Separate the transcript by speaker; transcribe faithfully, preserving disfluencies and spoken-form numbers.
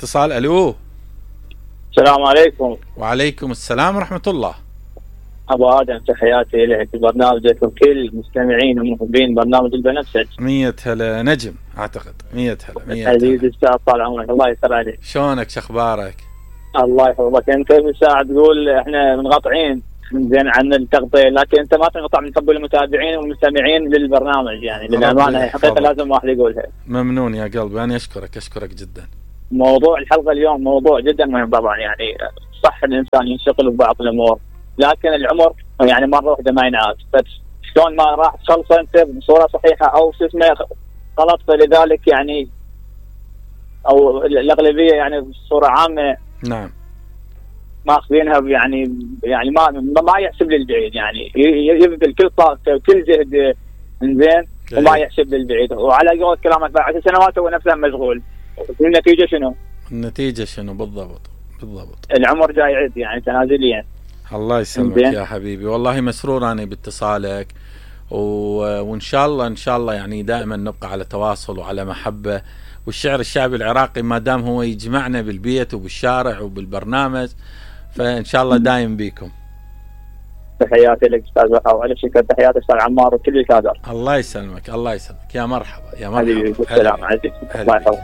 Speaker 1: اتصال. الو
Speaker 2: السلام عليكم.
Speaker 1: وعليكم السلام ورحمة الله.
Speaker 2: ابو ادم تحياتي لك برنامجك وكل مستمعين ومحبين برنامج البنفسج.
Speaker 1: مية هلا نجم اعتقد. مية هلا مية
Speaker 2: عزيزي الاستاذ طال عمرك الله يسر عليك.
Speaker 1: شلونك شخبارك؟
Speaker 2: الله يحفظك. انت من ساعه تقول احنا منقطعين زين عن التغطيه، لكن انت ما تنقطع من حب المتابعين والمستمعين للبرنامج، يعني للامانه هي حقيقه لازم واحد يقولها.
Speaker 1: ممنون يا قلبي، انا اشكرك اشكرك جدا.
Speaker 2: موضوع الحلقه اليوم موضوع جدا مهم طبعا، يعني صح الانسان ينشغل ببعض الامور، لكن العمر يعني مره واحده ما ينعاد، فشلون ما راح تخلصه انت بصوره صحيحه او شو اسمه غلط، فلذلك يعني او الاغلبيه يعني بصوره عامه
Speaker 1: نعم
Speaker 2: ماخذينها يعني يعني ما ما يحسب للبعيد، يعني يبذل كل طاقته وكل جهده زين وما يحسب للبعيد، وعلى قول كلامك بعد عشر سنوات هو نفسه مشغول. النتيجه شنو؟
Speaker 1: النتيجه شنو بالضبط؟ بالضبط
Speaker 2: العمر جاي يعد يعني تنازليا.
Speaker 1: الله يسلمك يا حبيبي، والله مسرور انا باتصالك، و... وان شاء الله ان شاء الله يعني دائما نبقى على تواصل وعلى محبه، والشعر الشعبي العراقي ما دام هو يجمعنا بالبيت وبالشارع وبالبرنامج، فان شاء الله دايم بيكم.
Speaker 2: تحياتي لك استاذ وحا، وعلى شكر تحياتي استاذ عمار وكل الكادر.
Speaker 1: الله يسلمك الله يسلمك، يا مرحبا يا مرحبا.
Speaker 2: السلام عليكم الله يحفظك.